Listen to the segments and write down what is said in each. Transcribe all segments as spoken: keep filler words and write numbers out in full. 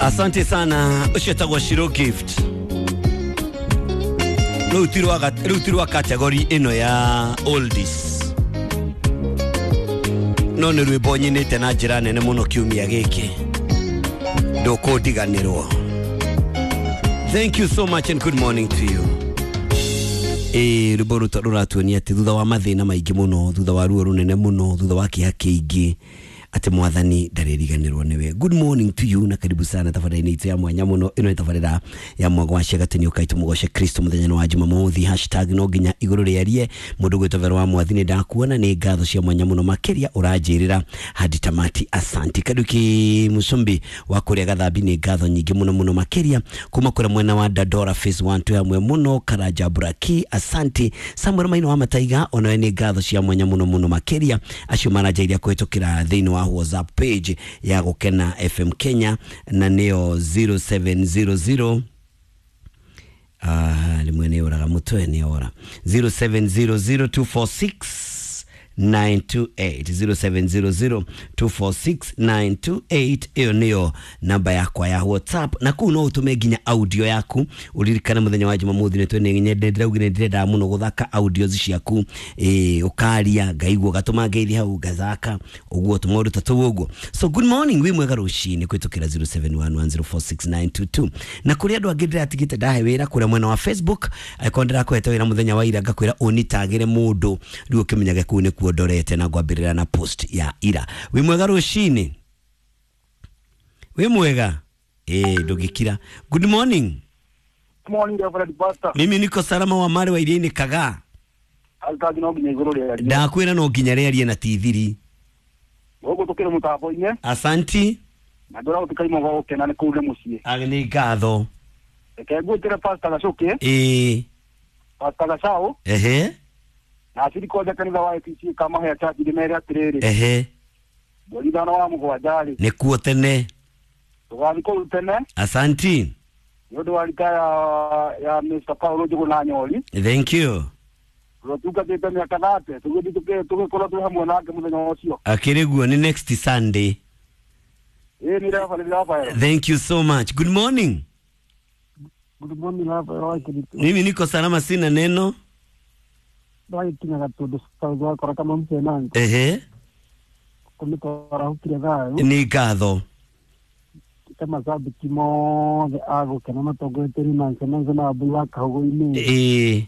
Asante sana ucio tagwo Shiro Gift. Rĩu ti rwa rĩu ti rwa category ĩno ya oldies, no nĩ rwĩmbo nyinĩte na njĩra nene mũno kiumia gĩkĩ, ndũkũndiganĩrwo. Thank you so much and good morning to you. Ĩ rwĩmbo rũta rũratuonia atĩ thutha wa mathĩna maingĩ mũno, thutha wa ruo rũnene mũno, thutha wa kĩeha kĩingĩ, atĩ mwathani ndarĩriganĩrwo nĩwe. Good morning to you na karibu sana tabarĩra-inĩ itũ ya mwanya mũno. Ĩno nĩ tabarĩra ya mwago wa ciagatĩ nĩ ũkaitũ mũgoce Kristo mũthenya wa Jumamothi. Hashtag no nginya igũrũ rĩarie. Mũndũ gwĩtwo Vero wa Mwathi nĩ ndakuona, nĩ ngatho cia mwanya mũno makĩria ũranjĩrĩra hadi tamati. Asanti. Kaduki Musumbi wa kũrĩa Gathambi nĩ ngatho nyingĩ mũno mũno makĩria kuma kũrĩa mwena wa Dandora phase one twĩ hamwe mũno. Karanja Buraki, asanti. Samuel Maino wa Mataiga onawe nĩ ngatho cia mwanya mũno mũno makĩria, acio maranjairia kũhĩtũkĩra thĩinĩ wa WhatsApp page ya Gũkena F M Kenya na nĩyo zero seven zero zero ah rĩmwe nĩ ũraga mũtwe nĩ ora zero seven zero zero two four six nine two eight zero seven zero zero two four six nine two eight. Iyo niyo namba yakwa ya WhatsApp na kuu no utume nginya audio yaku. Uririkane muthenya wa Jumamothi ni twene nyende ndiraugire ndirenda muno guthaka audio ciaku, eh ukaria ngaigua gatuma ngeithi hau ngathaka uguo tumaundu ta tuu uguo. So good morning, wi mwega rucini kwitukira zero seven one one zero four six nine two two. Na kuri andu angi ndiratigite ndahe wira kuria mwena wa Facebook, akorwo ndirakwete wira muthenya wa ira ngakwira unitagire mundu riu ukimenyage kuu ni kuondorete na ngwambirira na post ya ira. Wi mwega rucini, wi mwega eh ndugikira. Good morning. Good morning Reverend Pastor. Mimi niko salama wa mare wa iriini kaga. Altaji no nginya iguru rĩarie. Ndakwira no nginya rĩarie na tithiri. Gugu tukire mutambo-inĩ. Asanti. Na ndora gutikaimwo gwa gukena nĩ kũu nĩ mũciĩ. Age nĩ ngatho. Reke ngwĩtĩre Pastor Gacuki. Ĩĩ. Pastor Gacau. Ehe. Na aciri kwanja kanitha wa A P C Kamahĩa Church ndĩmere atĩrĩrĩ. Ehe. Mweri ithano wa mũgwanja rĩ. Nĩkuo tene. Tũgathiĩ kũu tene. Asanti. Nĩ ũndũ wa rita ya, ya Mister Paulo Njũgũna Nyori. Thank you. Tũtungatĩte mĩaka thate, tũgĩthiĩ tũgĩkorwo twĩ hamwe nake mũthenya ũcio. Akĩrĩ guo nĩ next Sunday. Ĩĩ nĩ Reverend Raphael. Thank you so much. Good morning. Good morning Raphael. Mimi niko salama, sina neno. Ndagĩkinyaga tondũ twakora kama mcenango. Ehe. Kũmĩtwara hukire thayũ. Nĩ ngatho. Macambĩki mothe a Gũkena matongoretio nĩ Nancy Nancy na Wambui wa Kahũgũ-inĩ. Ĩĩ.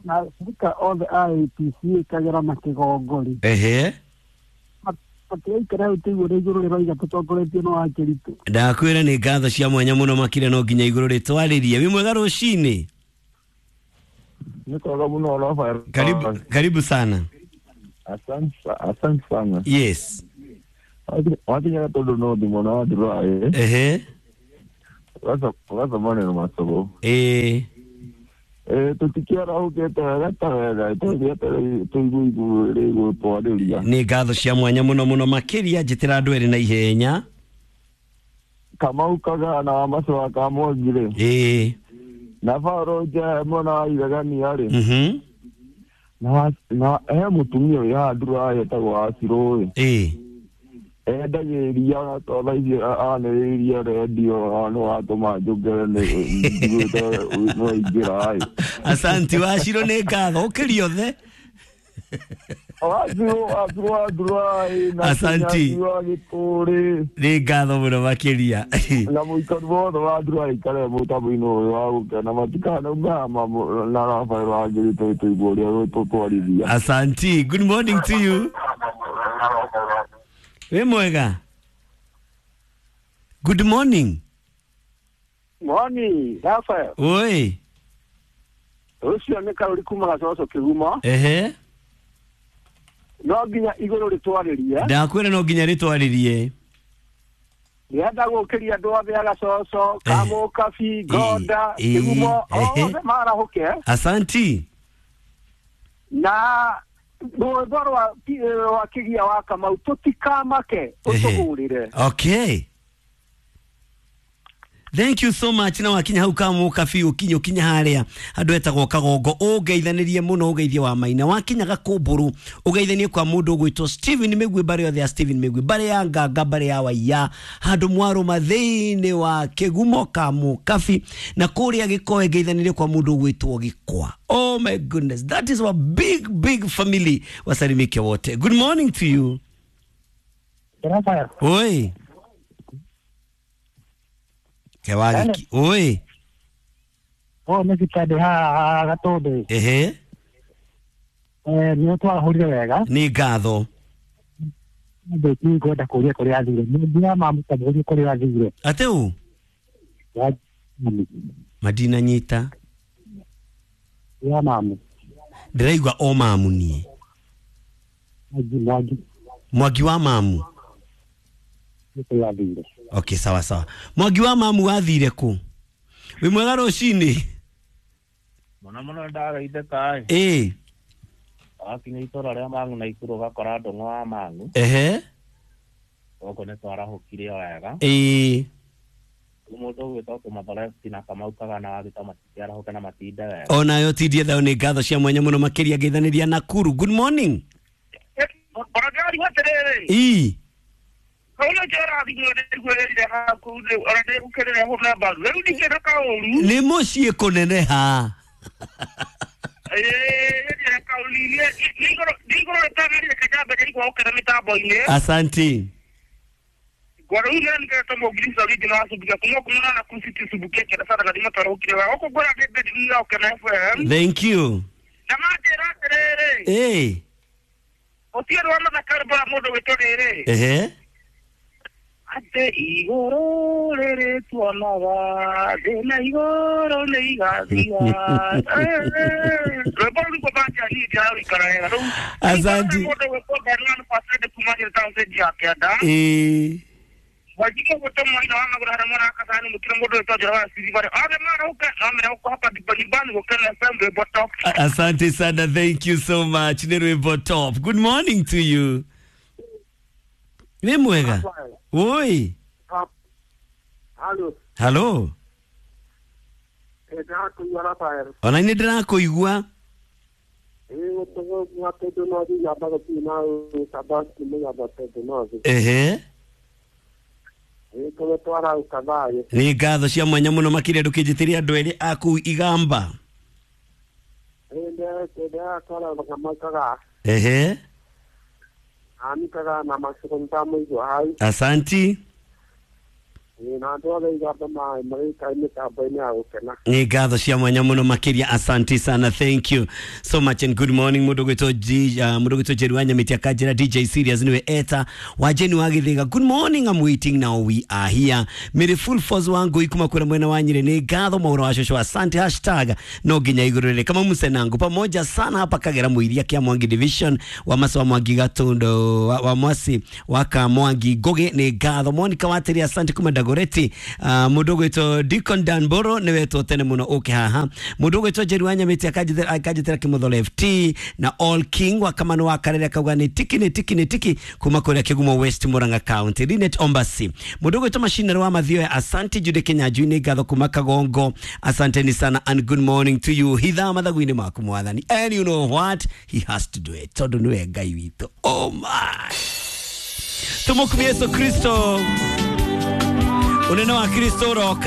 Na acirika othe a A P C Kagera na Kĩgongori. Ehe. Matigaikara hau tũigue ũrĩa igũrũ rĩroiga tũtongoretio nĩ Wakĩritũ. Ndakwĩra nĩ ngatho cia mwanya mũno makĩria no nginya igũrũ rĩtwarĩrie. Wĩ mwega rũcinĩ? Nĩ kwega mũno Raphael. Karibu, karibu sana. Asante, asante sana. Yes. Wakinya tondũ no thimũ na wathirwa ĩ. Ehe. Ũgaca maneno macũgũ. Ĩĩ. Ĩ tũtikĩarahũkĩte wega ta wega tũthiĩte tũigue igũrũ rĩgũtwarĩria. Nĩ ngatho cia mwanya mũno mũno makĩria njĩtĩra andũ erĩ na ihenya. Kamau Kagaa na Wamacu wa Kamwangi rĩ. Ĩĩ. Na Paulo Njehe mwena wa Ithegania rĩ. Mhm. Na na he mũtumia wĩ haha ndũra etagwo Wacirũ ĩ. Ĩĩ. Endagia iria tondũ ici anĩrĩirie rendio nĩ watũma njũngere nĩ njiguĩte nĩ waingĩra ĩ. Asanti Wacirũ, nĩ ngatho ũkĩria othe. Wacirũ Wacirũ wa ndũra ĩ na Asanti. wa Gĩtũrĩ. Nĩ ngatho mũno makĩria. Na mũikari wothe wa ndũra aikare mũtambo-inĩ ũyũ wa Gũkena matikanaume na Raphael wa Ngĩrĩ tũigue ũrĩa tũtwarithia. Asanti. Good morning to you. Wĩ mwega? Good morning. Morning Raphael. Oi. Ũcio nĩ Karũri kuma Gacoco Kĩgumo. Ehe. No nginya igũrũ rĩtwarĩrie. Ndakwĩra no nginya rĩtwarĩrie. Ndĩrenda gũkĩria andũ othe a Gacoco, Kamũkabi, Ngonda, Kĩgumo, othe marahũke. Asanti. Na rwĩmbo rwa rwa Kĩgia wa Kamau tũtikamake ũtũhũrĩre. Okay. Thank you so much. Na wakinya hau Kamukabi ukinye ukinya haria andu etagwo Kagongo, ungeithanirie muno, ugeithie wa Maina. Wakinya Gakumburu ugeithanie kwa mundu ugwitwo Steven Migwi, mbari yothe ya Steven Migwi, mbari ya Nganga, mbari ya Waiya, handu mwaruma thiini wa Kigumo Kamukabi, na kuria Gikoe ngeithanirie kwa mundu ugwitwo Gikwa. Oh my goodness, that is our big big family. Wasalimike wote. Good morning to you. Oi. Kewagiki. Oi. Oh, nĩ cikande haha Gatũndũ. Ehe. Eh, nĩ twarahũrire wega. Nĩ ngatho. Ndĩ ngwenda kũria kũrĩa athire. Nĩ mamũtamũrie kũrĩa athire. Atĩ ũ? Madina nyita. Ya mamu. Ndĩraigua o mamu niĩ. Mwangi, Mwangi. Mwangi wa mamu. Kũrĩa athire. Okay, sawa sawa. Mwangi wa mamu athire kũ? Wĩ mwega rũcinĩ? Mũno mũno ndagaithĩka ĩ. Ĩ. Wakinya itũra rĩa Mang'u na Ikuru ũgakora Ndũng'ũ wa Mang'u. Ehe. Gũkũ nĩ twarahũkire wega. Ĩ. Rĩu mũndũ ũgwĩtwo Kũmathoresti na Kamau Kagana wa Gĩtama matingĩarahũke na matinde wega. Onayo tindie thayũ. Nĩ ngatho cia mwanya mũno makĩria ngeithanĩria Nakuru. Good morning. Ona atĩrĩrĩ. Ĩ. Kauna njera thimũ ndĩguĩrĩire haku ona ndĩgũkĩrĩra hũra mbaru rĩu ndingĩenda kaũru. Nĩ mũciĩ kũneneha. Ĩĩ kaũru nĩ igũrũ rĩtagĩrĩire kĩjambe kĩrigwo gũkena mĩtambo-inĩ. Asanti. Ngwara rĩu nĩ nĩkĩretwo mũngirisa original wa Subukia kuma kumana na City Subukia kĩenda sana gathima twarahũkire wega gũkũ ngwĩra ndĩ ya Ũkena F M. Thank you. Na manjĩra atĩrĩrĩ. Ĩ. Otieno wa mathaka rwĩmbo rwa mũndũ wĩtwo rĩrĩ. Ehe. Atĩ igũrũ rĩrĩ tuonaga thĩ na igũrũ nĩ igathira. Rwĩmbo rũu nĩguo banja niĩ ndĩrarũikara wega rĩu. Asante. Mũndũ wĩtwo Bernard Pasede kuma Nyeri Township ya Kĩanda. Ĩ. Wajike gũtũ mwaina wa magũrũ harĩa mwana akacani mũkĩra mũndũ wĩtwo Njoroge wa Siribarĩ. Othe marahũke no mera gũkũ hapa ndipo nyumbani Gũkena F M rwĩmbo top. Asante sana, thank you so much. Nĩ rwĩmbo top. Good morning to you. Wĩ mwega? Oi. Halo. Halo. Ndĩrakũigua Rafael. Ona nĩ ndĩrakũigua. Ehe. Nĩ ngatho cia mwanya mũno makĩria ndũkĩnjĩtĩrie andũ erĩ a kũu Igamba. Ehe. Asanti. Nĩ ngatho cia mwanya mũno makĩria, asanti sana, thank you so much and good morning. Mũndũ gwĩtwo G uh, mũndũ gwĩtwo Jeru wa Nyamĩti akanjĩra D J Serious niwe eta wa Jeni wa Gĩthĩga. Good morning, I'm waiting now, we are here. Mary full force wangu ikuma kura mwena wa Nyĩrĩ. Nĩ ngatho maũra wa cũcũ, asante. Hashtag no nginya igũrũ rĩrĩ kama musenangu pamoja sana hapa Kagera Mũiria kia Mwangi division wa Masa wa Mwangi Gatondo wa, wa Mwasi wa Kamwangi Ngoge. Nĩ ngatho Monica Wateri, asante kuma Dagoreti. Uh, mũndũ ũgwĩtwo Deacon Danboro nĩ wetwo tene mũno ũke haha. Mũndũ ũgwĩtwo Jeru wa Nyamĩti akanjĩtĩra akanjĩtĩra Kĩmũtholo F T na All King wa Kamano wa Karere akauga nĩ tiki nĩ tiki nĩ tiki kuma kũrĩa Kĩgumo West Murang'a County. Linet Ombasi. Mũndũ ũgwĩtwo Macinero wa Mathioya, asante. Jude Kinyanjui nĩ ngatho kuma Kagongo, asanteni sana and good morning to you. Hitha mathagu-inĩ maku mwathani, and you know what, he has to do it tondũ nĩwe Ngai witũ. Oh my, tũmũkumie Yesu Kristo, unene wa Kristo ũroka.